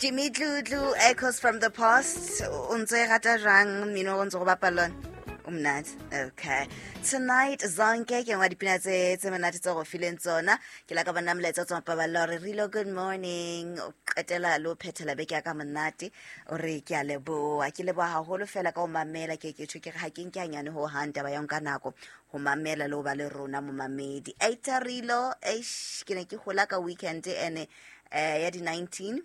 Jimmy Dludlu, Echoes from the Past. O ntse e rata jwang mmino o ntse go bapala lona? O monate. Okay. Tonight Zonke ke nngwe ya dipina tse monate tse go fileng tsona. Ke la ka bona molaetsa o tswang paballo hore Rilo good morning. O qetela le o phethela beke ya ka monate. O re ke a leboha. Ke leboha haholo fela ka o mamela ke ke tjho ke re ha ke nke hanyane ho hang taba ya ho nka nako ho mamela le ho ba le rona momamedi. Eita Rilo, eish ke ne ke hola ka weekend ene ya di 19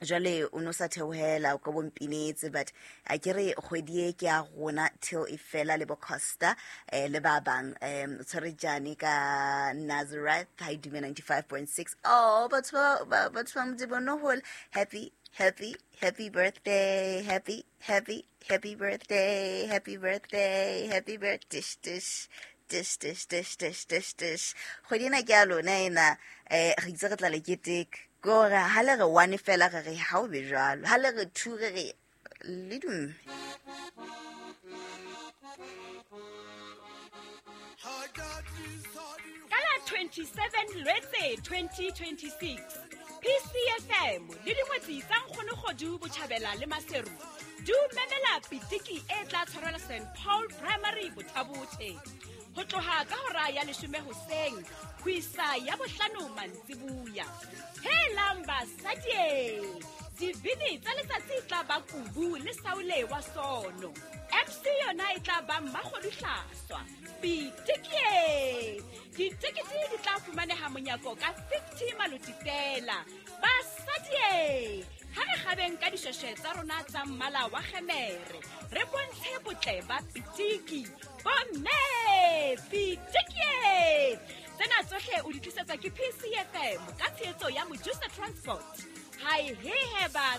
jwale o no sa theohela o ka bompinetse, but a ke re kgwedi e ke ya rona till e fela le bo Costa le ba bang o tshwere jane ka Nazareth ha e dume 95.6. Oh, batho ba Modimo no hola. Happy, happy, happy birthday, happy, happy, happy birthday, happy birthday, happy birthday, dish, dish, dish, dish, dish, dish, dish, dish. Kgwedi ena ke ya lona ena, re itse re tla le keteka. Ke hore ha le re 1 fela re re ha o be jwalo, ha le re 2 re re le dume. Ka la 27 Lwetse 2026, PCFM le dingwetsi tsa Nkgonogodu Botjhabela le Maseru di o memela pitiki e tla tshwarelwa St Paul Primary Bothabothe ho tloha ka hora ya 10 hoseng ho isa ya 5 mantsibuya. Helang basadi, dibini tsa letsatsi e tla ba Kubu le Saule wa Sono. MC yona e tla ba Mmakgodu Hlaswa. Pitikie! Ditekete di tla fumaneha monyako ka 50 maloti fela. Basadi, ha re kgabeng ka dishweshwe tsa rona tsa mmala wa kgemere, re bontshe botle ba pitiki. Bomme, pitikie! Tsena tsohle o di tlisetswa ke PCFM ka tshehetso ya Mojusa Transport. Hai he heba.